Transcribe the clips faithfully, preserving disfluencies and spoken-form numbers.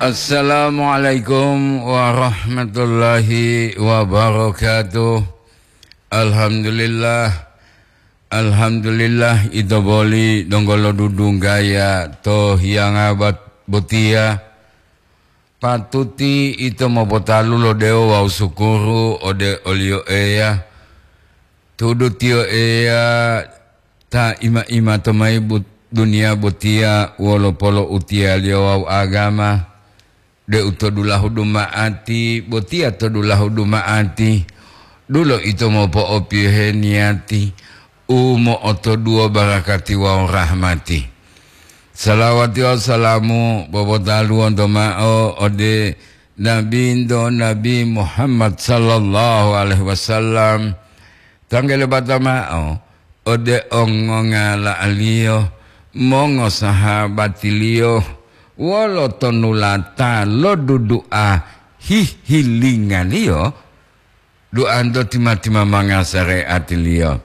Assalamualaikum warahmatullahi wabarakatuh. Alhamdulillah. Alhamdulillah, ito boli donggo lodudunggaya to hiyanga bat-, botiya. Patuti ito mopotalu lo dewo wawu sukuru ode oliyo Eya. Tudu tiyo Eya ta ima-imato mayi bu-, duniya botiya wolo poloutiyaliyo wawu agama. Deu to dulahu duma'ati, botiya to dulahu duma'ati, dulo ito mopo'opiyohe niyati u mo'otoduwo barakati wawu rahmati. Salawati wawu salamu popotaluwonto ma'o ode Nabinto Nabi Muhammad sallallahu alaihi wasallam, tanggele bata ma'o ode ongongala'aliyo, mongosahabatiliyo, wolo tonulata lo dudu'a hihilingaliyo, duanto tima-timamanga sareatiliyo.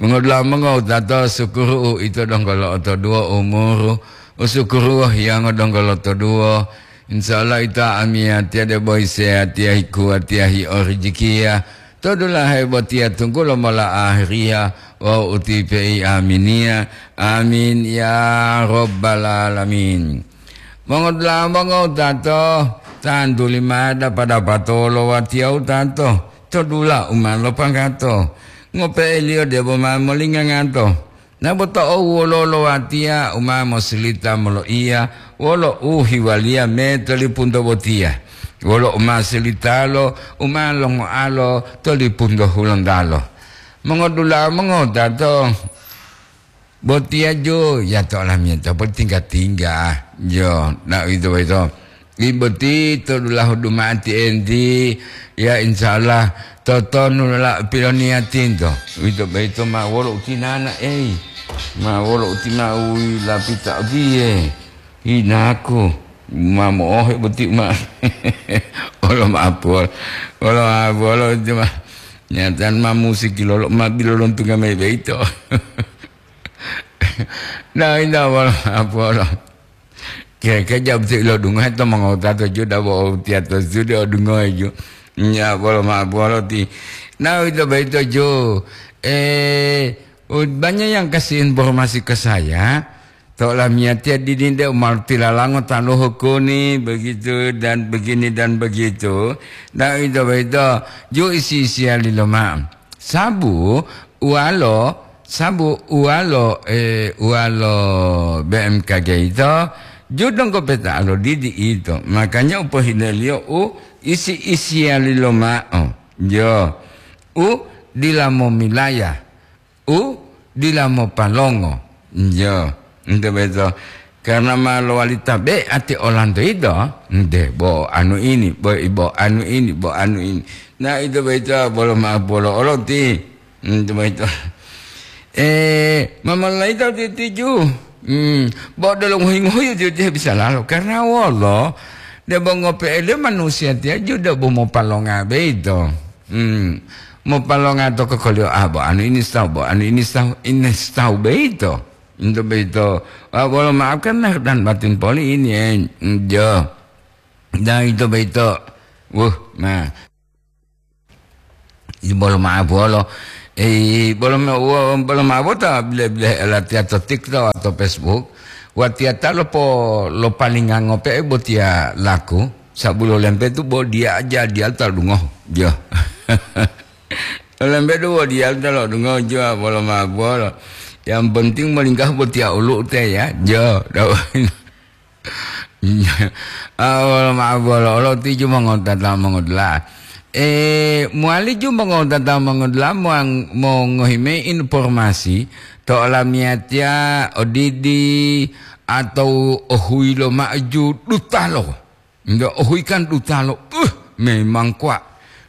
Mongodula'a mongowutato, sukuru uito donggo lo'otoduwo umuru, usukuruwo hiyango donggo lotoduwo. Insya Allah ito amiyatiya debo hiseyatiya hikuwatiya hiorijikiya. To dulahe botiya tunggulo mola ahiriya wawu utipe'i aminiya. Amin ya rabbal alamin. Mongodula'a mongowutato, tantuli ma dapa-dapato wolo watiya wutato to dula u ma lopanggato. Ngope'eliyo debo ma molingangato. Naboto owuwolo lo watiya u ma mosilita moloiya wolo u hiwaliya me to lipunto botiya, wolo u ma silitalo u ma longoalo to lipunto hulontalo. Mongodula'a mongowutato, botiya ju, ya to olamiyatiya poli tingga-tingga, jo, na uwito boyito. Ti boti to dulahu duma'ati enti, ya, insya Allah, totonu la piloniyatinto. Uwito boyito ma wolo utinana, ei. Ma wolo uti ma uwi lapita otiye. Inaku, ma mo'ohe boti ma. Olo ma'apol. Olo ma'apolo cuma. Nyatan ma musiki lolo, ma bilolontunga mayi boyito. Na, ina wolo ma'apolo. Keke jabu ti ilodungohe to mongowutato ju dabo tiya to studio odungohe ju. Nya bolo ma bolo ti. Na uwito boyito ju. Eh, u-, banyak yang kasih informasi ke saya. To lamiyatiya dini de umalu tilalango taluhu kuni begitu dan begini dan begitu. Na uwito boyito ju isi-isiya lilo ma'o. Sabu uwalo, sabu uwalo, eh, uwalo B M K G ito, ju donggo peta lo didi ito. Makanya u pohineliyo u isi-isiyali loma'o. Jo, u dila momilaya, u dila mopalongo. Jo, ente boyito. Karena ma lowali tabe'ati olanto yito, nte bo anu ini, bo, bo anu ini, bo anu ini. Na ito boyito bolo ma'o bolo oloti. Nte boyito. Eh, ma molaita titiju. Hmm, bo delo ngohi-ngohi tiyo-tiyo bisa lalo. Karena wolo, debo ngope'e le manusiya tiya ju debo mopalonga boyito. Hmm, mopalonga to kokoliyo, ah, bo anu ini sitahu, bo anu ini sitahu, ini sitahu boyito. Ito boyito, ah, bolo maafkan lahir dan batin poli ini, eh, jo. Dan ito boyito, wuh, nah. Ito bolo maaf bolo. Eh, bolo ma-, wo-, bolo maaf bota bile-bile latiya to TikTok atau Facebook. Watiya ta lopo-, lopalinga ngope'e botiya laku. Sabulo lempe tu bo diya aja, diya ta dungo. Jo. Lembe duwo diyalu ta lo'odungohe juwa bolo ma bolo. Yang penting molinggahu botiya olu'u te ya. Jo, dawa. Ah, bolo ma bolo, olo tiju mongotata mongodula'a. Eh, muali ju mongotata mongodula'a muang-, mongohi mayi informasi to olamiyatiya odidi atau ohuyi lo ma'o ju dutalo. Nde ohuyi kan dutalo, uh, memang kuwa.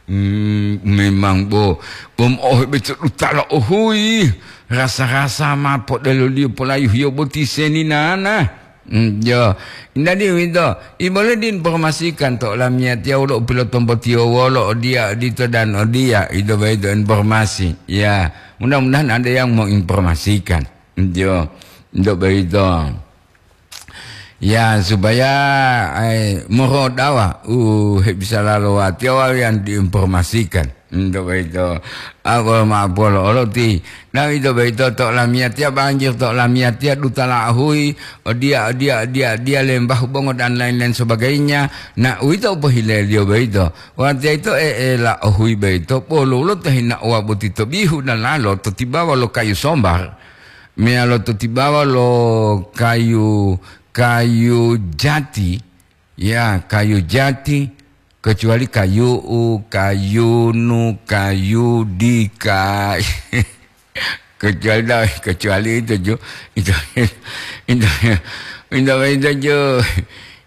Hmm, memang bo, bo mo'ohe beto dutalo ohuyi. Rasa-rasa ma podeloliyo polayuhiyo boti seninana. Hmm, jo. Jadi uwito, i bole diinformasikan to olamiyatiya wolo u pilotombotiyo wolo odiya, odito dan odiya, ito boyito informasi. Ya, mudah-mudahan ada yang menginformasikan. Jo, ito boyito. Ya, supaya, eh, morodawa u hebisala lo watiya wawu yang diinformasikan. Ento boyito, a, bolo ma'o polo olo ti, na uwito boyito to lamiyatiya banjir, to lamiyatiya dutala ahuyi, odiya, odiya, odiya, odiya, lembahu bongo dan lain-lain sebagainya. Na uwito u pohileliyo boyito. Watiya yito e'ela ohuyi boyito, bolo wolo ta hinaowa boti to bihu dalalo to tibawa lo kayu sombar, meyalo to tibawa lo kayu, kayu jati, ya, kayu jati, kecuali kayu'u, kayunu, kayudi, ka-, kecuali da-, kecuali itu ju, itu, itu, itu, itu ju,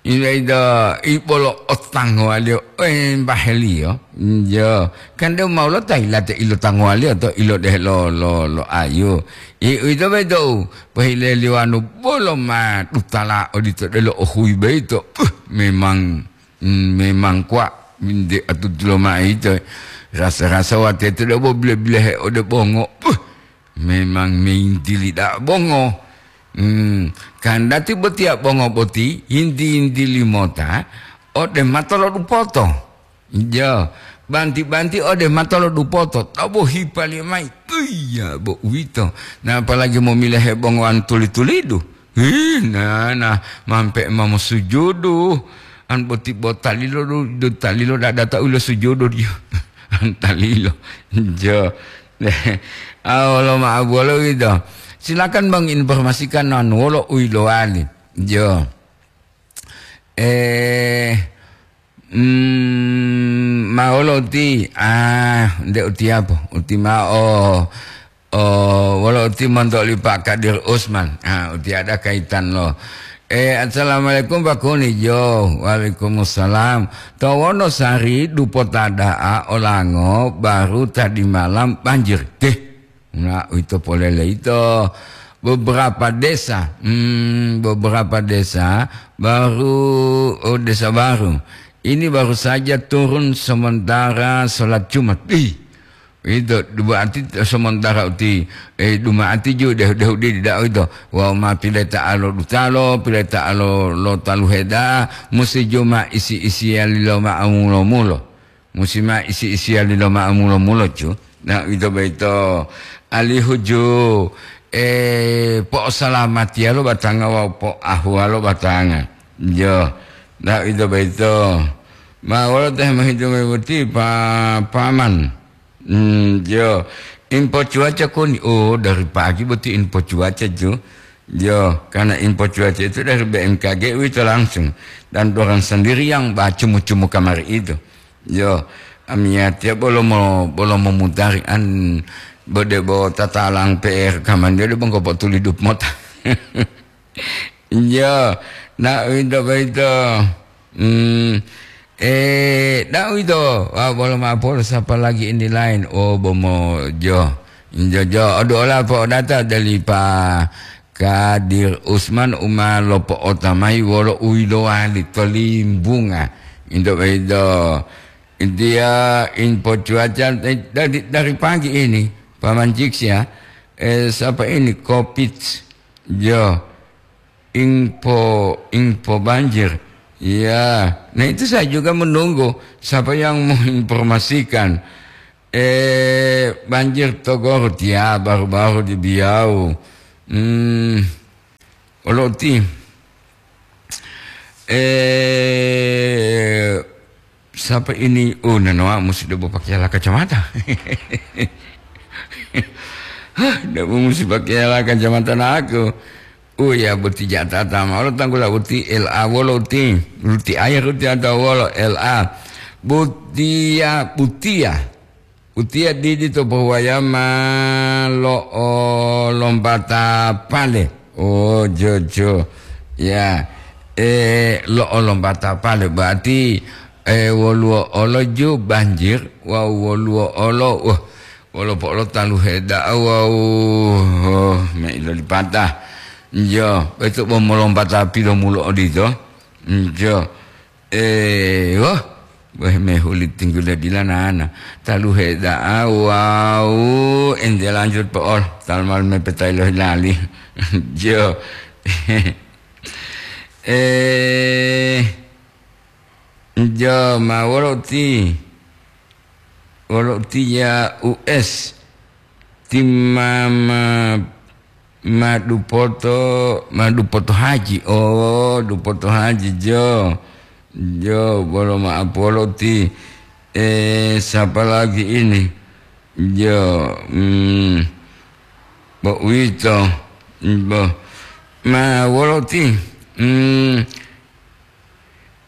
itu, itu, ibolo otangowaliyo, eh, mbaheliyo, jo, kan deu mau lo ta ilate ilo tangowaliyo to ilo deh lo, lo, lo ayu. I, itu betul, pohileliwanu bolo ma dutala odito delo ohui beito. Uh, memang, mm, memang kuwa, nde atutulo ma'o ito, rasa-rasa watete debo bile-bilehe ode bongo. Uh, memang meyintili da'a bongo. Hmm, kandati botiya bongo boti yinti-yintili mota ode mato lo dupoto. Jo, banti-banti ode mato lo dupoto, tobo hipaliyo mayi. Iya, bo uwito. Na apalagi momilehe bongowan tuli-tulidu. Hi, nana, mampe ma mosujudu. An boti bo talilo du, du talilo dadata ulo sujudu diyo. An talilo. Jo. Awolo ma'o bolo gitu. Silakan Bang informasikan non wolo uilowali. Jo. Eh, mm, ma'o lo uti, ah, nde utiyapo, uti ma'o, oh, wolo uti monto li Pak Kadir Usman. Ah, uti ada kaitan lo. Eh, assalamualaikum Pak Kuni. Jo, waalaikumsalam. To Wonosari dupota da'a olango baru tadi malam banjir. Deh. Nah, ito polele ito beberapa desa, hmm, beberapa desa baru, oh, desa baru. Ini baru saja turun sementara sholat Jumat. Ih, itu berarti sementara uti, eh, duma'ati ju deh, deh, di da'a itu. Wau ma pileta alo dutalo, pileta alo lo taluheda, musi Jumat isi-isiya lilo ma'amulo-mulo. Musi ma isi-isiyali lo ma'amulo-mulo, ju. Na, uwito boyito, alihu ju, eh, po'osalamatiya lo batanga wawu po'ahuwa lo batanga. Jo. Na, uwito boyito. Ma wolo ta hemohitungi boti, pa-, paman. Hmm, jo. Info cuaca koni. Oh, dari pagi boti info cuaca, ju. Jo, karena info cuaca itu dari B M K G uwito langsung. Dan dorang sendiri yang bacumu-cumu kamari itu. Jo, amiyatiya bolo mo-, bolo momutari an bode bo tatalang P R kaman jo de bongko potulidu mota. Jo, na uwito boyito. Hmm, eh, na uwito, ah, bolo ma'o polo sapa lagi ini lain. Oh, bomo jo. Jo, jo, odu ola po'odata dali pa Kadir Usman u ma lopo'ota mayi wolo u yilowali to Limbunga. Into boyito, intiya info cuaca, eh, dari, dari pagi ini, Paman Ciks ya, eh, siapa ini, Covid, jo, info, info banjir. Ya, nah itu saya juga menunggu siapa yang menginformasikan. Eh, banjir to Garut, ya, baru-baru di Biau. Hmm, olo uti. Eh, siapa ini? Oh, nanoa musti debo pakai ala kacamata. Hah, debo musti pakai ala kacamata naku. Oh ya, boti jatata ma. Olo tanggula uti L A wolo uti. Uti air uti atau wolo L A. Butia, butia. Utiya didi to pohuwaya ma lo'o lombata pale. Oh, jojo. Ya, eh, lo'o lombata pale. Berarti, eh, woluwo olo ju banjir, wawu woluwo olo, wah, wolo po'olo taluhe da'a wawu, oh, me ilolipata. Jo, betu bo molombata pilomulo odito. Jo. Eh, wah, weh mehuli tinggula dila nana. Taluhe da'a wawu ente lanjut po'ol. Talmal mepetai lohi lali. Jo. Eh, jo ma wolo ti, wolo ti ya U S, ti ma, ma, ma dupoto, ma dupoto haji. Oh, dupoto haji, jo. Jo, bolo ma apolo ti, eh, siapa lagi ini? Jo, hmm, bo uwito, bo, ma wolo ti, hmm,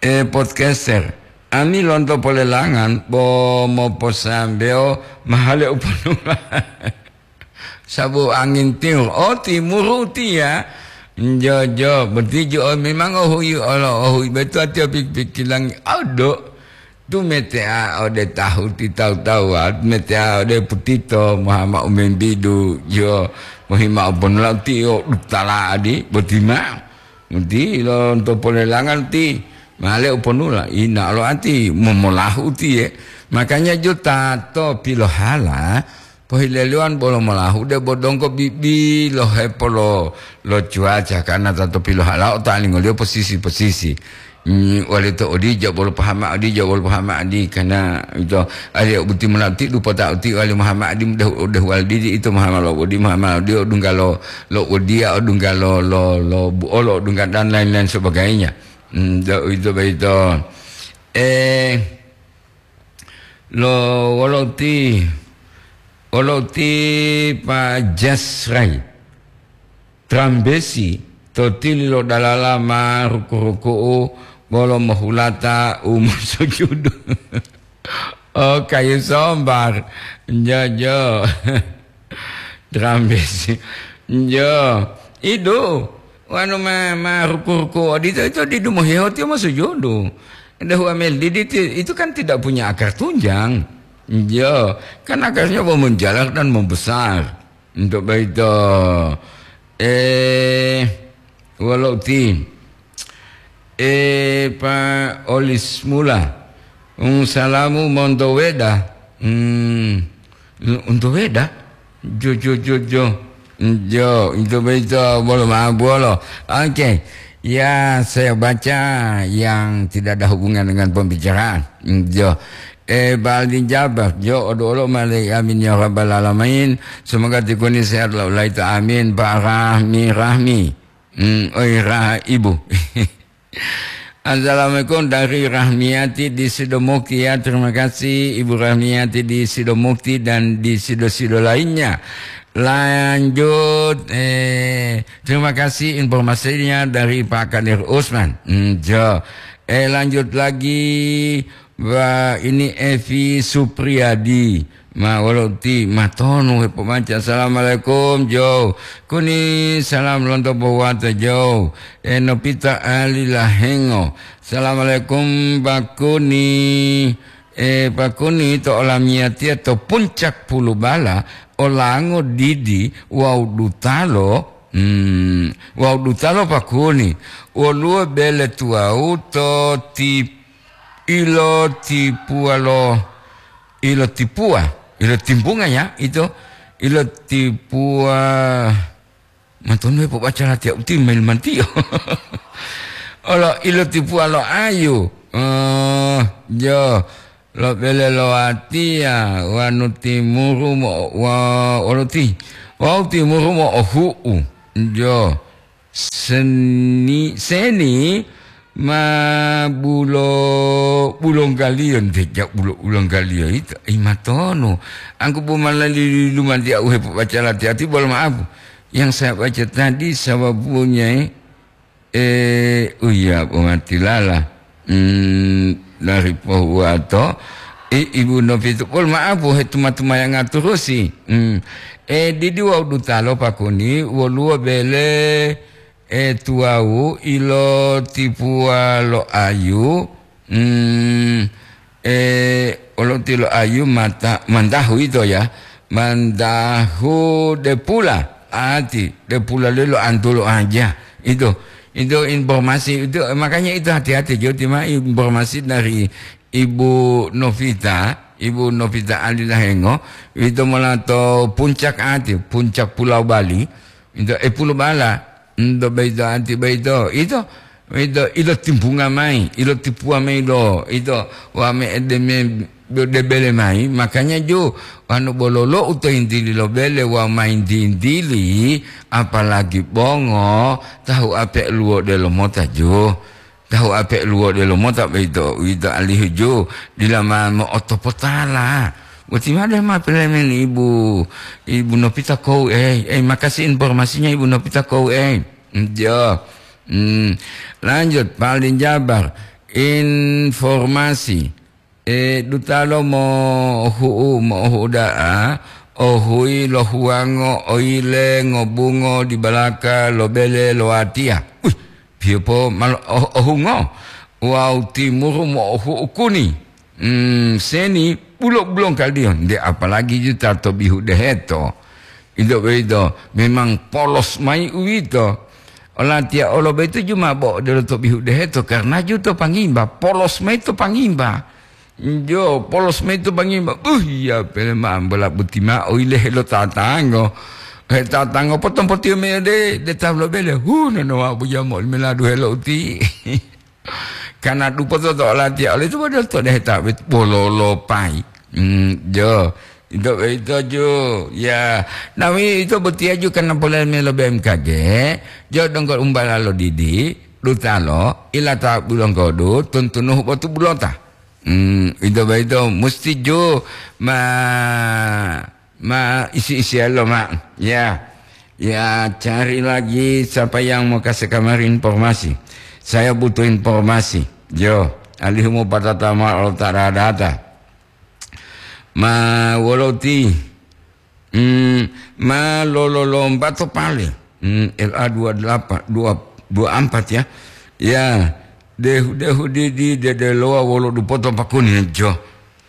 eh, podcaster. Ami lonto polelangan, bo moposambewo mahale uponula. Sabu angin timur. Oh, timuru tiya. Jo, jo, boti jo, oh, memang ohui olo, ohui betu ati pik-, pikilang. Ado. Tu metea ode tahu ti tawu-tawuwa, metea ode putito, mohama umembidu, jo, mohima oponula ti o dutala adi, boti ma. Ti lonto polelangan ti, male uponula, ina lo ati, momolahu tiye. Makanya jo tato pilohala, pohileliwan bolo molahu de bo donggo bibi lo hepolo lo cuaca, karena tato pilohala o talingoliyo posisi-posisi. Mm, wali to odija bolo pahama odija bolo pahama adi, karena ito ali buti mona ti dupota uti wali Muhammad adi mudah udah wali didi ito Muhammad lo odi Muhammad odi odungga lo, lo odia odungga lo, lo, lo buolo odungga dan lain-lain sebagainya. Mm, do, ito baito. Eh, lo wolo ti, wolo ti Pak Jasrai. Trambesi to tili lo dalala ma ruku-ruku'u bolo mohulata u mosujudu. Oh, kayu sombar. Jo, jo. Trambesi. Jo. Idu. Wanu ma, ma ruku-ruku odito, itu didu mohiho tiyo mosujudu. Dehu amel didi ti-, itu kan tidak punya akar tunjang. Jo. Kan akarnya mau menjalar dan membesar. Untuk baito, eh, wolo uti, eh, Pa Olis Mula, un salamu monto weda, hmm, unto weda, jo, jo, jo, jo, jo, untuk baito, bolo ma bolo. Oke, ya, saya baca yang tidak ada hubungan dengan pembicaraan. Jo, Eh, Ba'al bin Jabbar, jo, odu'olo male amin ya rabbal alamin. Semoga tikuni sehat laulai ta amin. Pak Rahmi, Rahmi. Hmm, oi, Ra-, Ibu. Assalamualaikum dari Rahmiati di Sidomukti ya. Terima kasih Ibu Rahmiati di Sidomukti dan di Sido-Sido lainnya. Lanjut, eh, terima kasih informasinya dari Pak Kadir Usman. Hmm, jo. Eh, lanjut lagi. Wah, ini Evi Supriyadi. Ma, wolo ti, matonu hepobanca. Assalamualaikum, Jo. Kuni salam lonto Bowata, Jo. E, Nopita Ali Lahengo. Assalamualaikum, Pak Kuni. E, Pak Kuni to olamiyatiya to puncak Pulubala, olango didi wawu dutalo, hmm, wawu dutalo Pak Kuni. Woluwo bele tuwawu to ti Ilotipuwa lo, ilotipuwa, ilotimbunga ya, ito, ilotipuwa, matonu hepobaca latiya uti mail mantiyo. Olo ilotipuwa lo ayu, eh, jo, lo bele lo watiya, wanu timuru mo, wa, olo ti, wau timuru mo ohu'u, jo. Seni, seni ma bulo, bulonggaliyo, nte ja bulo, bulonggaliyo ito, i matono. Angku bo malali lumanti au hepobaca lati-ati, bolo maapu. Yang saya baca tadi sababunya, eh, oh iya, pongatilala. Hmm, dari pohuwato, i-, Ibu Novitu, pol maapu, he tuma-tumayanga turusi. Hmm. Eh, didi wawu dutalo pakuni, woluwo bele, eh, tuwawu ilotipuwa lo ayu, hmm, eh, olotilo ayu mata, mandahu ito ya, mandahu depula, ati depula lelo antulu aja. Itu, itu informasi itu, makanya itu hati-hati, jo, tima informasi dari Ibu Novita, Ibu Novita Ali Lahengo, itu mula to puncak ati, puncak Pulau Bali, itu, eh, Pulau Bala, itu beito ati beito, itu Ito, ito timbunga mayi, ito tipuwa mayi lo, ito wa me edeme debele mayi, makanya ju, wanu bololo uto yintili lo bele wa mayintintili, apalagi bongo, tahu ape luwo delo mota ju. Tahu ape luwo delo mota boyito, uwito alihu ju, dila ma mo'otopotala. Boti made ma pelemen Ibu, Ibu Nopita Kou, eh, eh, makasih informasinya Ibu Nopita Kou, eh. Jo. Hmm. Lanjut, Pak Aldi Jabar. Informasi. E, dutalo mohu'u, mohu'u da'a, ohuyi lo huwango, oyile, ngobungo, dibalaka, lo bele, lo watiya. Wih, piyopo mal-, oh-, ohungo. Wawu timuru mo'ohu'u kuni. Hmm, seni bulo-bulongkaliyo, nde apalagi ju ta to bihu deheto. Ito boyito memang polos mayi uwito. Olatiya olo boyito ju ma bo'o delo to bihu deheto, karna ju to pangimba, polos mayi to pangimba. Jo, polos mayi to pangimba. Uh, iya, pele ma ambola boti ma'o ile helo tatango. He tatango potompotiyo mayi ode, de ta lobele. Hu, nono wa buja mo meladu helo uti. Kana dupoto to olatiya, olito bodo to deheta bololopayi. Hmm, jo. Ito, ito ju, ya. Nawi ito botiya ju kana polele mayi lo B M K G, jo donggo umbala lo didi, dutalo, ilata bulonggodu, tuntunuhu botu bulota. Hmm, ito boyito musti ju ma, ma isi-isiyalo ma. Ya. Ya, cari lagi siapa yang mau kasih kamari informasi. Saya butuh informasi. Jo, alihu mopatata mao lo ta data. Ma wolo ti? Hmm, ma lololomba to pale. Hmm, L A dua delapan, dua, dua empat ya. Ya, dehu-dehu di, di dedelowa wolo dupoto pakuni jo.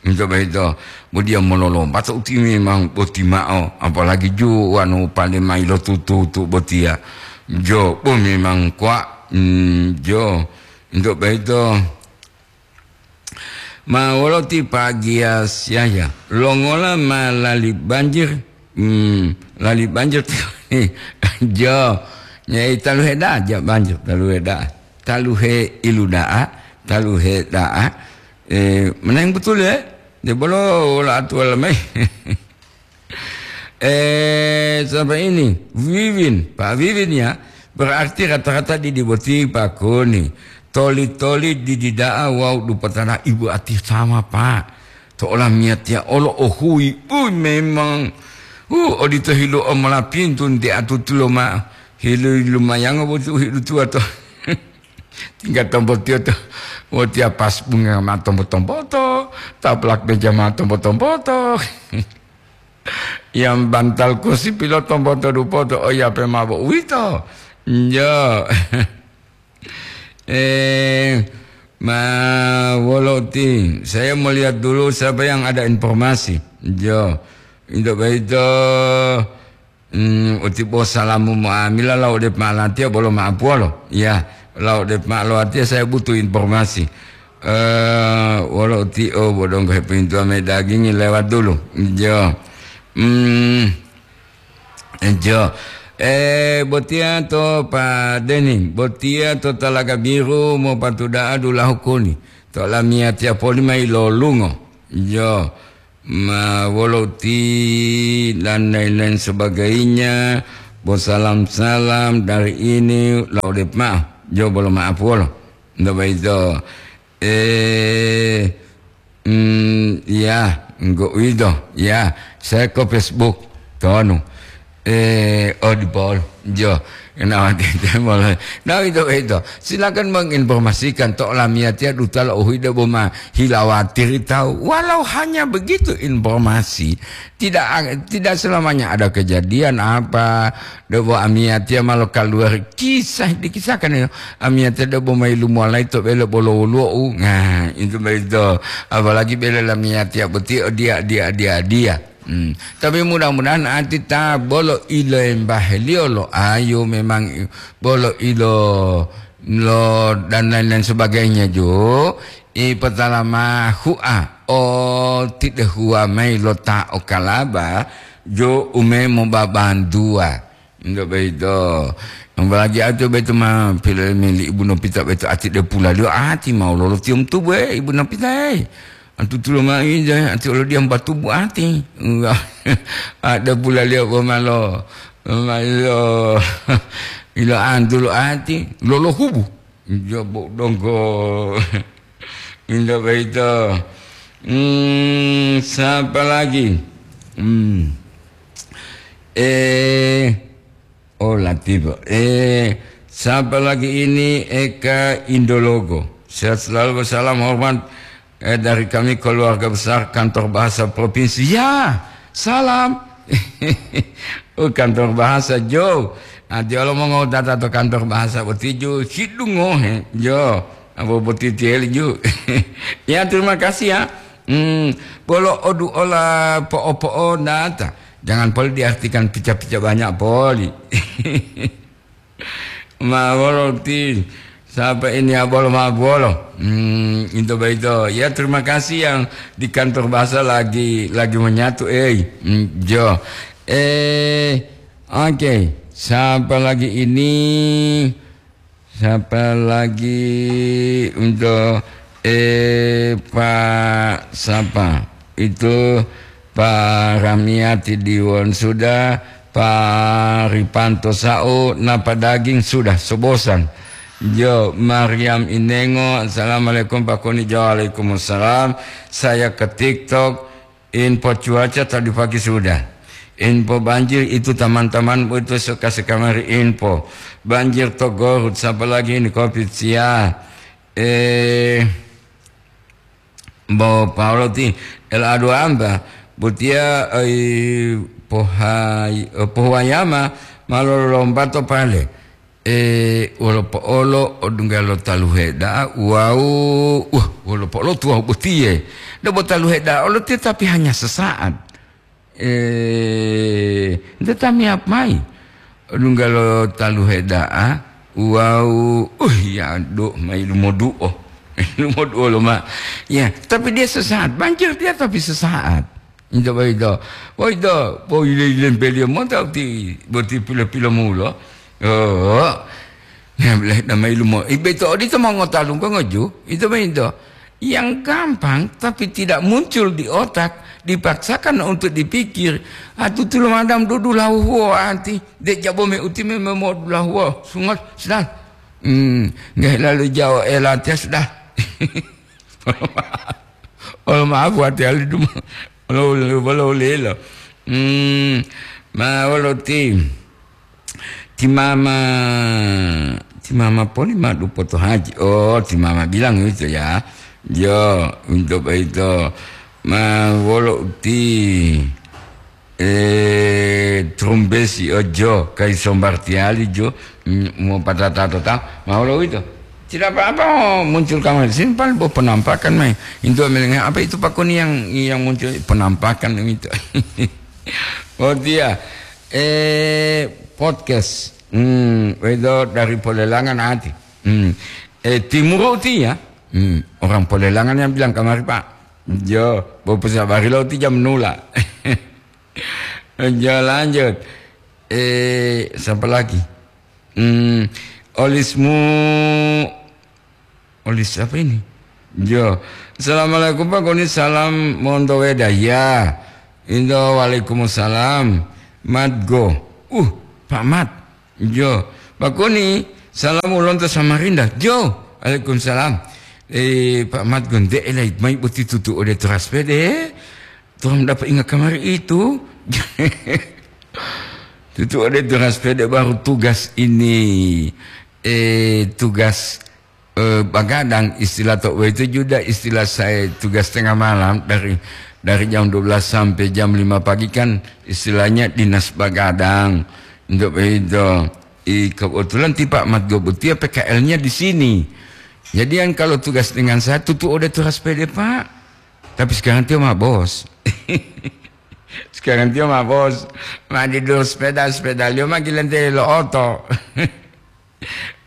Ito boyito, bo diya mololomba to uti memang boti ma'o, apalagi ju wanu pale mayi lo tutu-tutu botiya. Jo, bo memang kuwa, hmm, jo. Ito boyito, ma wolo ti Pak Gias Yahya, longola ma lali banjir, hmm, lali banjir jo, nyai taluhe da'a ja banjir, taluhe da'a, taluhe ilu da'a, taluhe da'a, Eh, menang betul ya? Dia bolo wala atuwala mai. Eh, sampai ini, Wiwin, Pak Wiwin ya, berarti rata-rata di, di boti Pak Koni. Toli-toli di, di da'a wau dupatana ibu ati sama, Pak. To olamiyatiya olo ohui, ui memang. Uh, odito hilu omolapintu nti atutulo ma. Hilu lumayango boti uhidu tuwa to. Tingga tombotiyo to, wotiya pas bunga ma tombo-tomboto, taplak meja ma tombo-tomboto. Yang bantal kursi pilo tomboto dupoto, oh ya pe mabo uwito. Jo. Eh, ma wolo ti, saya mau lihat dulu siapa yang ada informasi. Jo. Itu begitu. Hmm, uti bo salamu mo'amila lau de ma'alatiya bolo ma'apuwolo. Ya, lau de ma'alatiya saya butuh informasi. Eh, wolo uti o bodonggo hepintuwa me dagingi lewat dulu. Jo. Hmm, jo. Eh, botiya to Pak Deni, botiya to Talaga Biru mopatuda'a dulahu kuni. To lamiyatiya poli mayi lolungo. Jo. Ma wolo ti dan lain-lain sebagainya, bo salam-salam dari ini, lau de ma'o, jo bolo ma'apuwolo. Nto boyito, eh, mm, ya, enggo uwito, ya, saya ke Facebook, tonu. Eh, oh, di Paul. Jo, kenapa tidak boleh? Nah, itu, itu. Silakan menginformasikan to lamiyatiya duta lo uhuyi debo ma hilawatiri tahu. Walau hanya begitu informasi, tidak, tidak selamanya ada kejadian apa. Debo amiyatiya malo keluar kisah dikisahkan ya. Amiyatiya debo ma ilmu alai to belo bolo woluwo. Nah, itu begitu. Apalagi bela lamiyatiya boti dia, dia, dia, dia. Hmm. Tapi mudah-mudahan ati ta bolo ilo embaheliyo lo ayu memang i-, bolo ilo lo dan lain-lain sebagainya jo, i potala ma hu'a o tidehuwa mayi lo ta o kalaba jo ume mobabantuwa. Nggak begitu. Apalagi ati beto ma pile meli ibu Nopita beto ati de pulaliyo ati mau lolo tium tubu, eh, ibu Nopita, eh. Antu tulo ma ija ati olo diam batubu ati. Enggak. Ada pulaliyo bo malo, malo ilo antu lo ati, lolo hubu. Jobo donggo. Indah begitu. Hmm, siapa lagi? Hmm. Eh, oh, Latifa. Eh, siapa lagi ini? Eka Indologo. Sehat selalu, salam hormat, eh, dari kami keluarga besar kantor bahasa provinsi. Ya, salam. Oh, kantor bahasa, Jo. Nanti kalau mau ngota to kantor bahasa boti, Jo, hidungo, he, Jo. Apa boti tiel, Jo. Ya, terima kasih, ya. Hmm, bolo odu ola po'o-po'o nata. Jangan poli diartikan pica-pica banyak poli. Ma wolo ti, siapa ini ya bolo ma bolo? Hmm, itu begitu. Ya, terima kasih yang di kantor bahasa lagi, lagi menyatu, eh. Hmm, Jo. Eh, oke. Siapa lagi ini? Siapa lagi untuk, eh, Pak siapa? Itu Pak Ramiati Diwon sudah, Pak Ripanto Sao, napa daging sudah, sobosan. Jo, Mariam Inengo, "Assalamualaikum Pak Koni." Jo, "Waalaikumsalam. Saya ke TikTok, info cuaca tadi pagi sudah. Info banjir itu teman-teman itu suka sekamari info. Banjir to Gorut, siapa lagi ini covid sia." Eh, Bo Paulo ti el adu amba, botiya, ai, pohai-, eh, pohuwayama ma lolombato pale. Eh, wolo po'olo odungga lo taluhe da'a wawu, wah, wolo po'olo tuwawu botiye. Debo taluhe da'a olo tetapi hanya sesaat. Eh, nte tamiyap mayi. Lunggalo taluhe da'a, wawu, uh, ya, do, mayi lumodu'o. Lumodu'o loma. Ya, tapi dia sesaat. Banjir dia tapi sesaat. Itu boyito. Boyito, boyito lempeliyo monta uti, boti pilo-pilo mulo. Oh. Nah, boleh damai lumo. Ibe to odito mongotalunggo ngoju. Itu boyito. Yang gampang tapi tidak muncul di otak, dipaksakan untuk dipikir. Atu tulo madam dudu lahuwo anti, de jabo me uti me modu lahuwo, sungot, sudah. Hmm, nggak lalu jauh, eh, latihan sudah. Oh, maaf, hati hali dum. Lo, lo, lo, lo, lo. Hmm, ma wolo ti. Ti mama, ti mama poli ma dupoto haji. Oh, ti mama bilang itu ya. Yo, untuk itu. Ma wolo uti, eh, trumbesi ojo, kai sombar tiali jo, mm, mau patata tota. Ma wolo itu. Tidak apa-apa, oh, muncul kamar simpan, bo penampakan mai. Itu melengah apa itu Pak Koni yang, yang muncul penampakan itu. Oh, dia. Eh, podcast. Hmm, itu dari Polelangan hati. Hmm. Eh, timur uti ya. Hmm, orang Polelangan yang bilang kamari, Pak. Jo, bo pesabari lo ti jam nula. Jo, lanjut. Eh, siapa lagi? Hmm, olismu, olis apa ini? Jo. Assalamualaikum, Pak Koni, salam monto weda. Ya. Indo, waalaikumsalam. Mat go. Uh, Pak Mat. Jo. Pak Koni, salam ulonto Samarinda. Jo. Waalaikumsalam. Eh, Pak Mat go, nde elai mai boti tutu ode teras pede. Tuhan dapat ingat kamari itu. Tutu ode teras pede baru tugas ini. Eh, tugas, eh, bagadang istilah to itu juga istilah saya tugas tengah malam dari, dari jam dua belas sampai jam lima pagi kan istilahnya dinas bagadang. Untuk itu, i, kebetulan ti Pak Mat Gobutia P K L-nya di sini. Jadi yang kalau tugas dengan saya tutu ode teras pede, Pak. Tapi sekarang dia mah bos. Sekarang dia mah bos. Ma di dur sepeda, sepeda liyo ma gilante lo oto.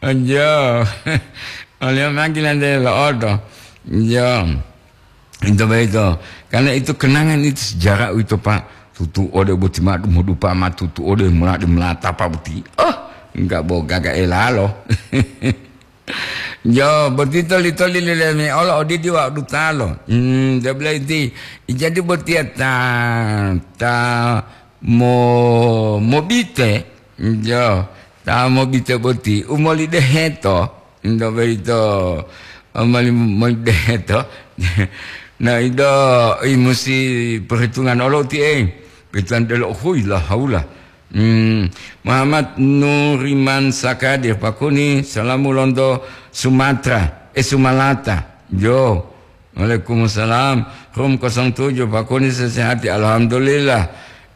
Onjo. Oleh ma gilante lo oto. Jo. Itu begitu. Karena itu kenangan itu sejarah itu, Pak. Tutu ode boti madu modupa ma tutu ode muladi melata Pak boti. Oh, Enggak bo gaga elalo. Jo, boti toli-toli leleme olo odidi wa dutalo. Hmm, dia bilang inti, jadi botia ta, ta mo, mobite, jo, ta mobite boti, umoli deheto, ndo berito, umoli, moli deheto. Nah, ido, i musi perhitungan olo ti, eh, perhitungan delo, hui, la haula. Hmm, Muhammad Nuriman Sakadir, Pakuni, salamu lonto Sumatera, eh, Sumalata. Jo. Waalaikumsalam. Room kosong tujuh, Pakuni sesehati, alhamdulillah.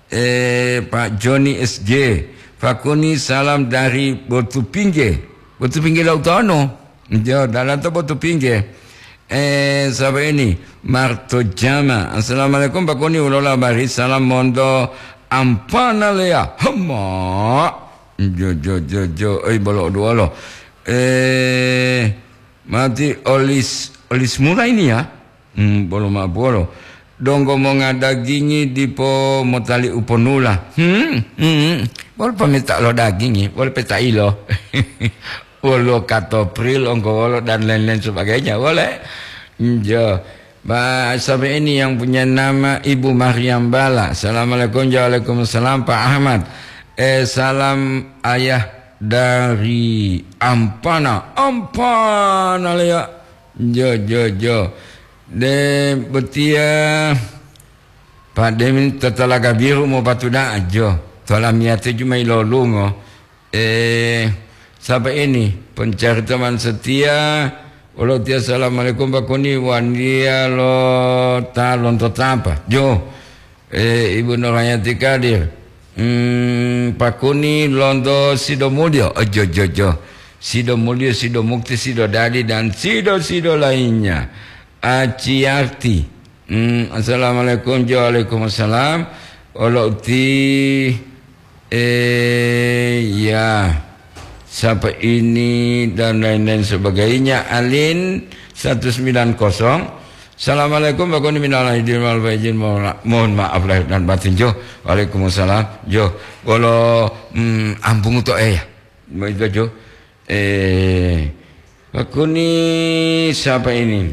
Eh, Pak Joni S J, Pakuni salam dari Batu Pingge. Batu Pingge Lautano. Jo, dalan to Batu Pingge. Eh, sapa ini? Marto Jama. Assalamualaikum, Pakuni, ulola bari salam monto Ampana Lea. Hema. Jo, jo, jo, jo. Oi, bolo duolo. Eh, mati olis, olis mula ini ya? Hmm, bolo ma bolo. Donggo monga dagingi dipo motali uponula. Hmm, hmm. Bolo pemita lo dagingi, bolo peta ilo. Wolo katopril, onggo wolo, dan lain-lain sebagainya. Boleh. Jo. Ba, sampai ini yang punya nama Ibu Mariam Bala. Assalamualaikum, waalaikumsalam, Pak Ahmad. Eh, salam ayah dari Ampana. Ampana, ya. Jo, jo, jo. De, betia, Pak Demin, tatalaga biru mau patuda, jo. Tola miate cuma ilolungo. Eh, sapa ini? Pencari teman setia. Wolo tia, assalamualaikum, Pak Kuni. Wania lo ta lonto tapa. Jo. Eh, Ibu Nurhayati Kadir. Hmm, Pak Kuni lonto Sidomulyo. Oh, jo, jo, jo. Sidomulyo, Sidomukti, Sidodadi, dan Sido-Sido lainnya. Aciyarti. Hmm, assalamualaikum. Jo, waalaikumsalam. Wolo uti Eh, ya. Siapa ini dan lain-lain sebagainya. Alin satu sembilan kosong. Assalamualaikum, Pak Kuni, minal aidin wal faizin. Mohon, mohon maaf lahir dan batin, jo. Waalaikumsalam, jo. Bolo, mm, ambungu to, eh, ya. Begitu, jo. Eh, Pak Kuni, siapa ini?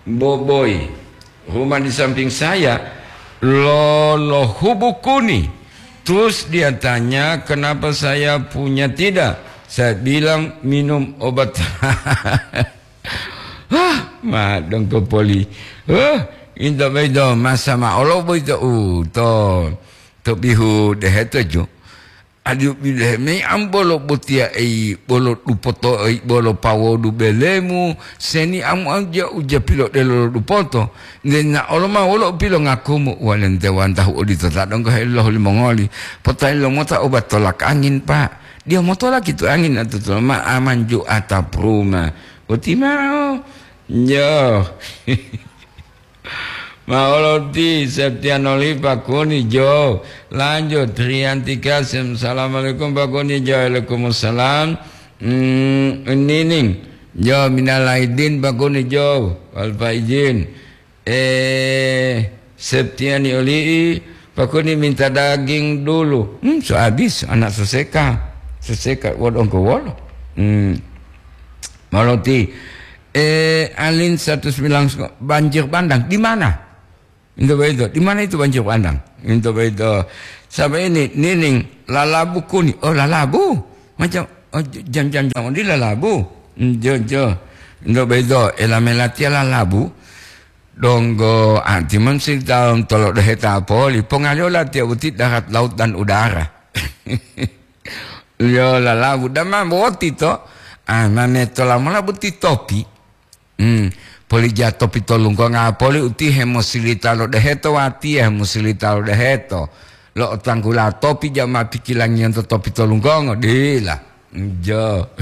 Boboi, rumah di samping saya, lo, lo hubukuni. Terus dia tanya, kenapa saya punya tidak? Saya bilang, minum obat. Hah, ma dongko poli. Hah, into bedo, masa ma olo boito u, to, to bihu deheto ju. Adiu bilehe mei am bolo botiya ei, bolo dupoto ei, bolo pawodu belemu, seni am, am ja uja pilodelo lo dupoto. Nde na olo ma wolo u pilongakumu, walente wantahu odito ta donggo helohu limongoli. Potali lomota obat tolak angin, Pak. Dia motolak itu angin atau tolak ma aman ju atap rumah. Boti mao. Yo. Ma olo ti Septiano Lipa Kuni Jo. Lanjut, Rianti Kasim. Assalamualaikum, Pak Kuni Jo. Waalaikumsalam. Hmm, Nining. Jo, minal aidin, Pak Kuni Jo. Wal faizin. Eh, Septiani Oli'i, Pak Kuni minta daging dulu. Hmm, so habis, anak soseka. Soseka, wodongko wolo. Hmm. Maloti. Eh, Alin satu sembilan, banjir bandang. Di mana? Minta begitu. Di mana itu banjir bandang? Minta begitu. Sampai ini, Nining, lalabu Kuni. Oh, lalabu. Macam, oh, jam-jam-jam di lalabu. Hmm, jo, jo. Minta begitu. Ela melatia lalabu. Donggo, ah, timan si taun tolo deheta poli. Pongaliola tia uti darat, laut, dan udara. Yo, lalabu. Dama boti to. Ah, mame tola mola boti topi. Hmm. Poli ja topi to lunggonga poli uti hemosilita lo deheto watiya hemosilita lo deheto. Lo otanggula topi ja ma pikilangiyanto topi to lunggongo. Dila. Jo.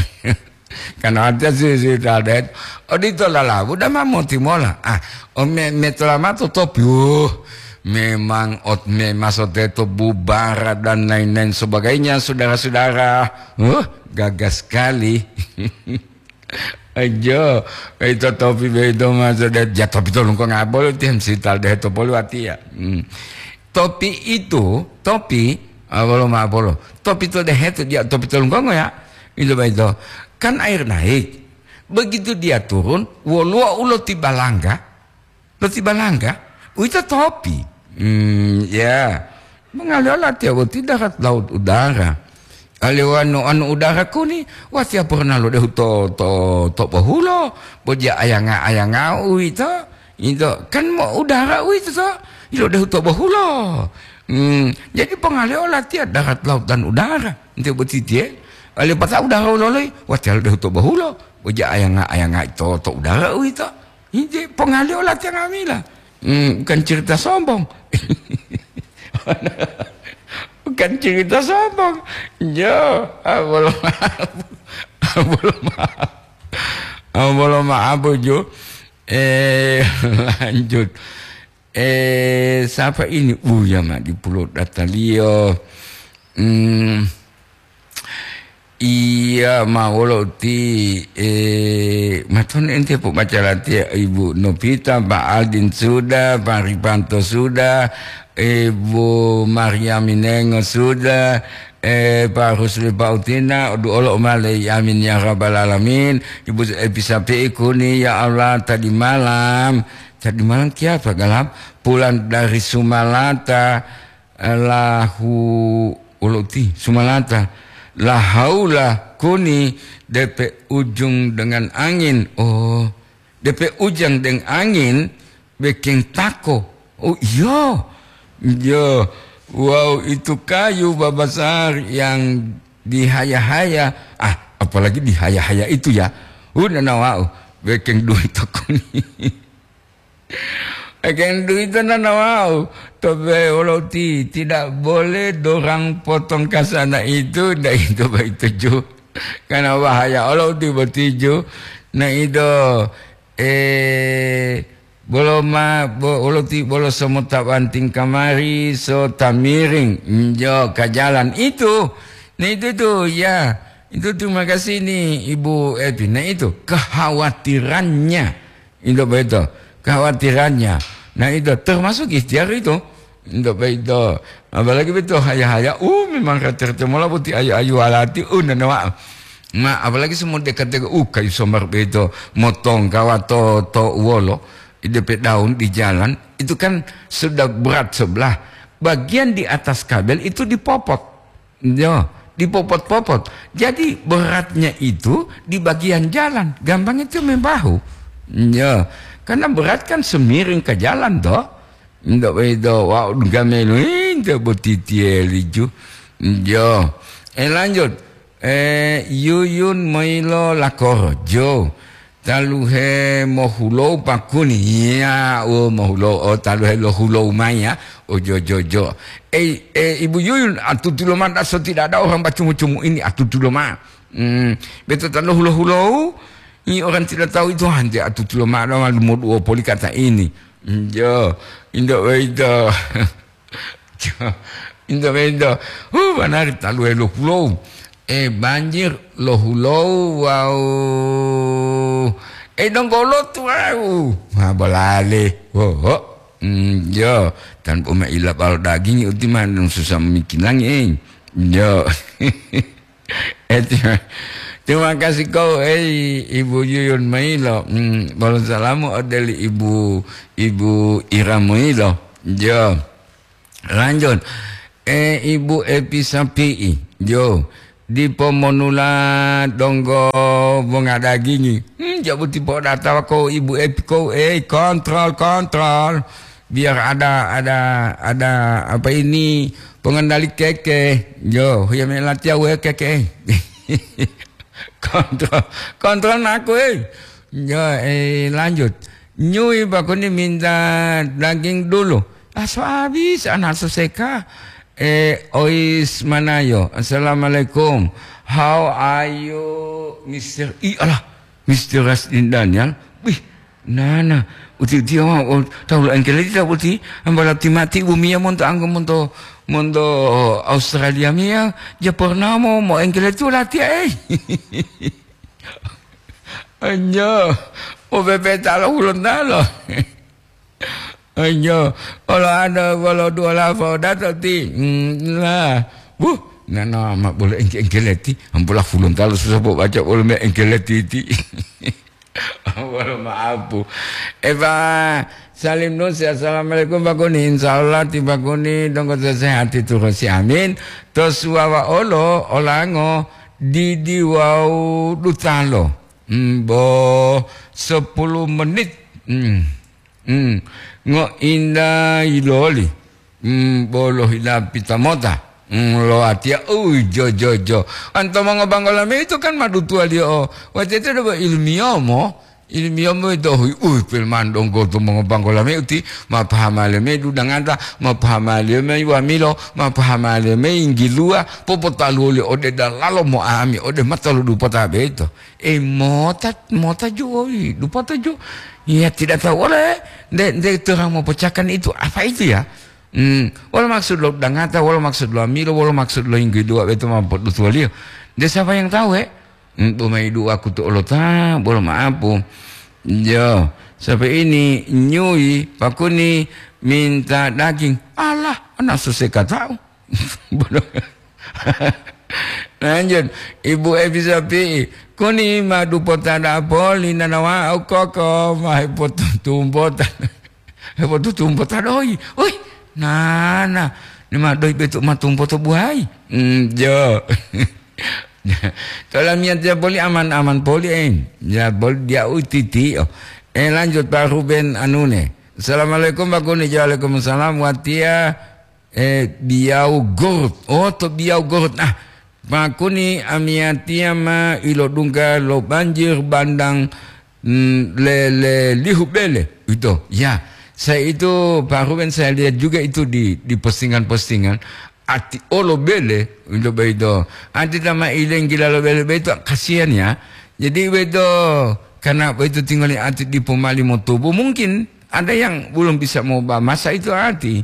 Kan ada sih, sih, ada. Odito lalabu, dama moti mola. Ah, o me, me tolamato topi. Uh, memang ot, me maso teto bubara dan lain-lain sebagainya, saudara-saudara. Uh, gagah sekali. Ajo, itu topi begitu maso de, ja topi tolong kok ngabol, tiam sital deh to polu atia. Hmm. Topi itu, topi Ah, bolo ma'o bolo. Topi to dehe to dia, topi to lunggongo ya. Itu baik to. Kan air naik. Begitu dia turun, woluwo u loti balangga. Loti balangga, uwito topi. Hmm, ya. Mangaliyo latiya boti darat laut udara. Aliyo anu, anu udara kuni, watiya purna lodehu to, to, to bohulo, bojiya ayanga-ayanga uwito. Ito, kan mo udara uwito to, ilodehu to bohulo. Hmm, jadi pongaliyo latiya darat laut dan udara. Ente boti tiye, aliyo pata udara uloloi, watiya lodehu to bohulo, bojiya ayanga-ayanga to, to udara uwito. Ije, pongaliyo latiya nga'amila. Hmm, bukan cerita sombong. Bukan cerita sombong. Jo, ah, bolo ma'o. Ah, bolo ma'o. Ah, bolo ma'o, Jo. Eh, lanjut. Eh, siapa ini? Buya ma di pulo dataliyo. Hmm. Iya, ma wolo uti, eh, maton ente pobaca latiya Ibu Novita, Pak Aldin sudah, Pak Ripanto sudah, Ibu Maria Minengo sudah, eh, Pak Rusli Pautina, odu olo umale, amin ya rabbal alamin. Ibu Epi Sapi'i kuni, ya Allah, tadi malam, tadi malam kiapa galap? Pulang dari Sumalata, lahu, uluti, Sumalata. La haula kuni depe ujung dengan angin. Oh, depe ujang deng angin, bekeng tako. Oh, iya. Iya. Wow, itu kayu babasar yang dihaya-haya. Ah, apalagi dihaya-haya itu ya. Udah nawau, bekeng duit kuni. Eken duito nanawau, tobe woloti tidak boleh dorang potong kasana itu, nda itu baituju. Karena bahaya oloti botijo. Na ido, eh, bolo ma, bo, oloti bolo somo tabanting kamari, so tamiring, njo ka jalan itu. Nah, itu tuh, ya. Itu terima kasih nih, Ibu Evi. Nah, itu kekhawatirannya. Itu betul. Kekhawatirannya. Nah, itu termasuk ikhtiar itu. Itu betul. Apalagi betul haya-haya. Uh, memang rata-rata mola buti ayu-ayu alati. Uh, nanawa. Ma, apalagi semua dekat-dekat. Uh, kayu sombar betul. Motong kawato to wolo. Depe daun di jalan. Itu kan sudah berat sebelah. Bagian di atas kabel itu dipopot. Yo, dipopot-popot. Jadi beratnya itu di bagian jalan, gampang itu membahu. Yo, karena berat kan semiring ke jalan toh. Ndak bedo, wau gamelu inte boti tieliju. Yo. Eh, lanjut. Eh, Yuyun Moilo Lakoro. Jo. Taluhe mohulou pakuni. Iya, oh, mohulou. Oh, taluhe lohulou mai ya. Oh, jo, jo, jo. Eh, eh, Ibu Yuyun, atutulo mata so tidak ada orang bacumu-cumu ini, atutulo ma. Hmm, beto talo hulo-hulou, ini orang tidak tahu itu hante atutulo ma, ada malu moduo poli kata ini. Hmm, jo, indo, indo. Indonesia. Huh, banari taluhe lohulou. Eh, banjir lohulou wawu. Eh, donggolo tuwau. Ha, bolale. Ho, ho. Hmm, yo, tanpa ma ila balo daging, uti mah susah mikilangi, eh. Yo. Eh, terima, terima kasih kau, eh, Ibu Yuyun Mailo. Hmm, balo salamu odeli Ibu, Ibu Ira Mailo. Yo. Lanjut. Eh, Ibu Epi Sapi'i, jo, dipo monula donggo bonga dagingi. Hmm, jabu tipo data ko Ibu Epi ko, eh, kontrol, kontrol. Biar ada, ada, ada apa ini, pengendali keke. Jo, huya melatiya we keke. Kontrol, kontrol naku, eh. Ya, eh, lanjut. Nyui bakuni minta daging dulu. Ah, so habis, anak so seka. Eh, Ois Manayo. Assalamualaikum. How are you, Mister I? Alah, Mister Rasdin Daniel. Wih, nana. Uti dia mau tahu lah engkele tidak uti. Ambala timati bumi ya monto anggo monto, monto Australia mia. Dia pernah mau, mau engkele tu latihan, eh. Anjo, o bebeta lo Hulontalo. Anjo, olo ado, olo duola fo dato ti. Hmm, lah. Wuh, nana ma bolo engke-engkeleti. Ampola fulun talu susah po baca bolo me engkeleti ti. Wolo maapu. Eva, salim nusi, assalamualaikum Pak Kuni. Insya Allah ti Pak Kuni donggo sesehati turusi, amin. To suwawa olo, olango, didi wawu dutalo. Hmm, bo sepuluh menit. Hmm. Hmm. Ngo inda yiloli. Hmm, bolo hila pita mota. Hmm, lo atia, ui, jo, jo, jo. Anto mongobanggola me itu kan madutuwaliyo o. Watete do ilmiyomo, ilmiyomo itu hui, ui, pelman donggo to mongobanggola me uti, ma pahama le me dudanganta, ma pahama le me wamilo, ma pahama le me inggilua, popotaluwo li ode dalalo mo ami, ode mata lo dupota beto. Eh, mota, mota jo, ui, dupota jo. Ya, tidak tahu oleh, nde, nde terang mau pecahkan itu, apa itu ya? Hmm, wolo maksud lo dangata, wolo maksud lo amilo, wolo maksud lo yinggi dua beto ma podutuwaliyo. De sapa yang tahu, he? Hmm, bo mayi dua kutu olota, bolo maapu. Yo, sampai ini nyui Pak Kuni minta daging. Alah, ana susah katau. Bodoh. Lanjut, Ibu Evi Sapi'i, Kuni ma dupota da'a poli nanawa au koko ma hepotutumbota. Hepotutumbota doyi. Ui, nana, ni ma doyi betu ma tumpoto buayi. Hmm, jo. Tolamiya tiya poli aman-aman poli, eh. Ya, poli dia u titi, oh. Eh, lanjut, Pak Ruben Anune. Assalamualaikum, Pak Kuni. Waalaikumsalam. Watiya, eh, Biyau Gorut. Oh, to Biyau Gorut. Ah, Pak Kuni, amiyatiya ma ilodungga lo banjir bandang, mm, le, le lihu bele. Itu, ya. Saya itu, Pak Ruben, saya lihat juga itu di, di postingan-postingan. Ati olo bele, itu begitu. Ati tama ilenggila lo bele begitu, kasihan ya. Jadi begitu, karena begitu tinggal ati dipo mali motubu, mungkin ada yang belum bisa mau ba-, masa itu ati.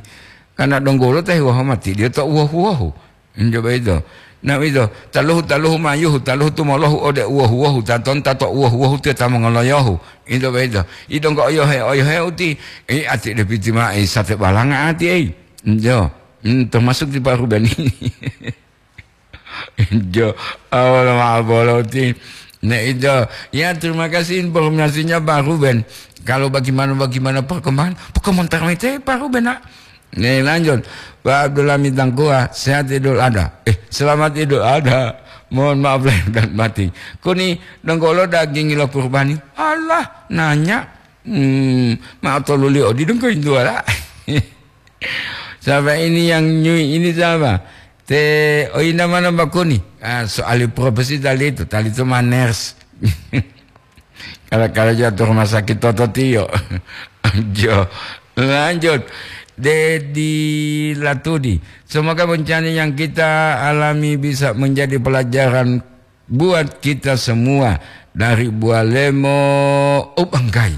Karena donggolo teh wahomati, dia tak uwahu-wahu. Injo boyito. Na uwito, taluhu, taluhu mayuhu, taluhu tumolohu ode uwohu-wohu, tatonta to uwohu-wohu tiyo ta mongoloyohu. Injo boyito. Idonggo oyohe, oyohe uti, i ati depiti ma'e sate balanga ati, ei. Injo. Hmm, termasuk di Pak Ruben ini. Injo. Awal ma'abolo uti. Ne injo. Ya, terima kasih informasinya Pak Ruben. Kalau bagaimana-bagaimana perkembangan, perkembangan termete Pak Ruben, nak. Nih, lanjut. Pak Abdullah Mitangkua, sehat Idul Adha. Eh, selamat Idul Adha. Mohon maaf lahir dan batin. Kuni, donggolo daging lo kurbani. Alah, nanya. Hmm, ma toluli odi dongko induala. Siapa ini yang nyui ini siapa? Te, oh, ina mana Mbak Kuni? Ah, soal profesi tali itu, tali itu maners. Kalau, kalau jatuh rumah sakit toto tiyo. Jo. Lanjut. Dedi Latudi. Semoga bencana yang kita alami bisa menjadi pelajaran buat kita semua dari Bualemo. Oh, bangkai.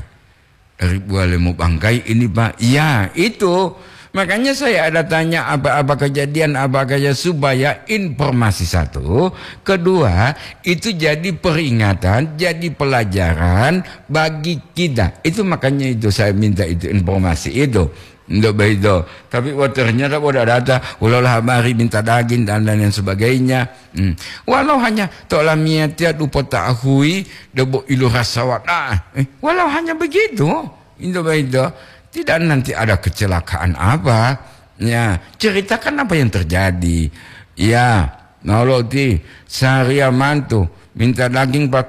Dari Bualemo bangkai ini, Pak. Ya, itu. Makanya saya ada tanya apa-apa kejadian, apa kejadian supaya informasi satu. Kedua, itu jadi peringatan, jadi pelajaran bagi kita. Itu makanya itu saya minta itu informasi itu. Ndak begitu. Tapi wah ternyata boda data, ulah habari minta daging dan lain-lain sebagainya. Hmm. Walau hanya tolamia tiat upota ahui, debo ilu rasa wada. Eh, walau hanya begitu. Ndak begitu. Tidak nanti ada kecelakaan apa. Ya, ceritakan apa yang terjadi. Ya, noloti seharian mantu minta daging Pak